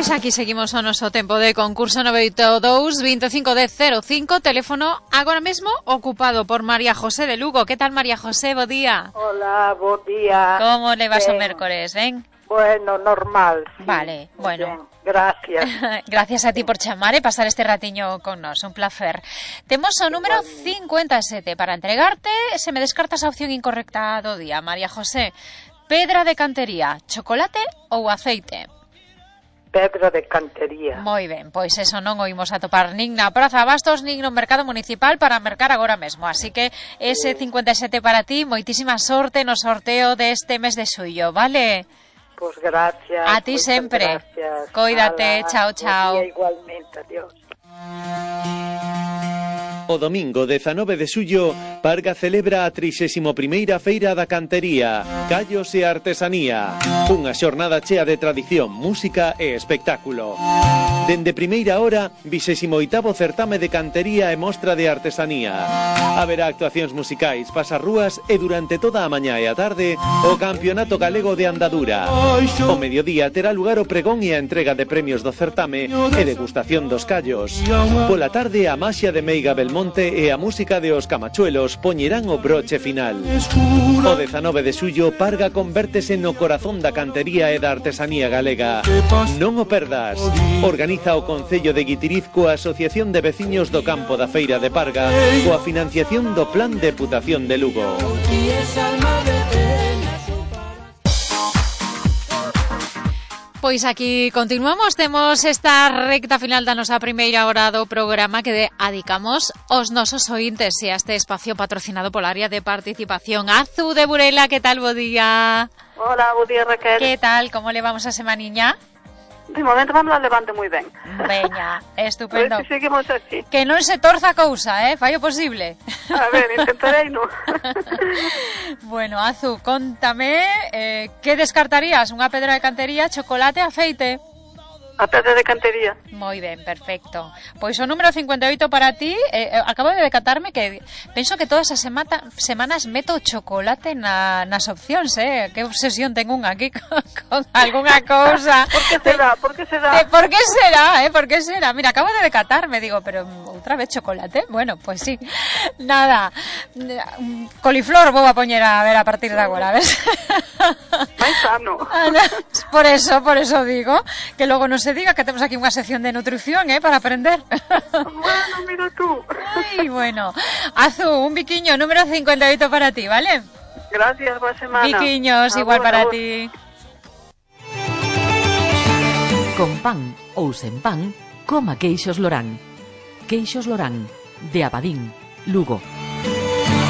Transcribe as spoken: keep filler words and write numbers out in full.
Pois aquí seguimos o noso tempo de concurso nove oito dous, veinticinco dez cero cinco, teléfono agora mesmo ocupado por María José de Lugo. Que tal, María José? Bo día. Hola, bo día. Como le vas ben. o mércores, ben? Bueno, normal. Sí. Vale, bueno. Ben. Gracias. Gracias a ti por chamar e pasar este ratiño con nos, un placer. Temos o número cincuenta e sete para entregarte. Se me descartas a opción incorrecta do día, María José. Pedra de cantería, chocolate ou aceite? Pedra de cantería. Moi ben, pois eso non o imos a topar nin na Praza Bastos nin no mercado municipal para mercar agora mesmo. Así que ese cincuenta e sete para ti, moitísima sorte no sorteo deste mes de xullo, vale? Pois pues gracias. A ti sempre. Gracias. Coídate, Ala, chao, chao. Igualmente, adiós. O domingo dezanove de xullo, Parga celebra a trixésima primeira Feira da Cantería, Callos e Artesanía. Unha xornada chea de tradición, música e espectáculo. Dende primeira hora, vixésimo oitavo certame de cantería e mostra de artesanía. Haberá actuacións musicais, pasarrúas e durante toda a mañá e a tarde, o Campeonato Galego de Andadura. O mediodía terá lugar o pregón e a entrega de premios do certame e degustación dos callos. Pola tarde, a maxia de Meiga Belmonte e a música de Os Camachuelos poñerán o broche final. O dezanove de xullo, Parga convértese no corazón da cantería e da artesanía galega. Non o perdas. Organiza o Concello de Guitiriz coa Asociación de Veciños do Campo da Feira de Parga coa financiación do Plan Deputación de Lugo. Pois aquí continuamos, temos esta recta final da nosa primeira hora do programa que dedicamos aos nosos ointes e a este espacio patrocinado pola área de participación. Azu de Burela, que tal, bo día? Hola, bo día, Raquel. Que tal, como levamos a semaniña? De momento vamos a levante moi ben. Veña, estupendo. Pois que seguimos así. Que non se torza a cousa, eh? Fai o posible. A ver, intentarei, non? Bueno, Azu, contame, eh, que descartarías? Unha pedra de cantería, chocolate, aceite? A pedra de cantería. Moi ben, perfecto. Pois o número cincuenta e oito para ti, eh, acabo de decatarme que penso que todas as semana, semanas meto chocolate na, nas opcións, eh? Que obsesión ten unha aquí con, con algunha cousa. Por que será? Por que será? Eh, por que será, eh? Por que será? Mira, acabo de decatarme, digo, pero outra vez chocolate? Bueno, pues sí. Nada. Coliflor vou a poñer a ver a partir de agora, ves? Máis sano. Por eso, por eso digo, que logo non se diga que temos aquí unha sección de nutrición, eh, para aprender. Bueno, mira tú. Ay, bueno. Azu, un biquiño, número cincuenta y ocho para ti, ¿vale? Gracias, boa semana. Biquiños, a igual vos, para a ti. Con pan ou sen pan, coma queixos Lorán. Queixos Lorán, de Abadín, Lugo.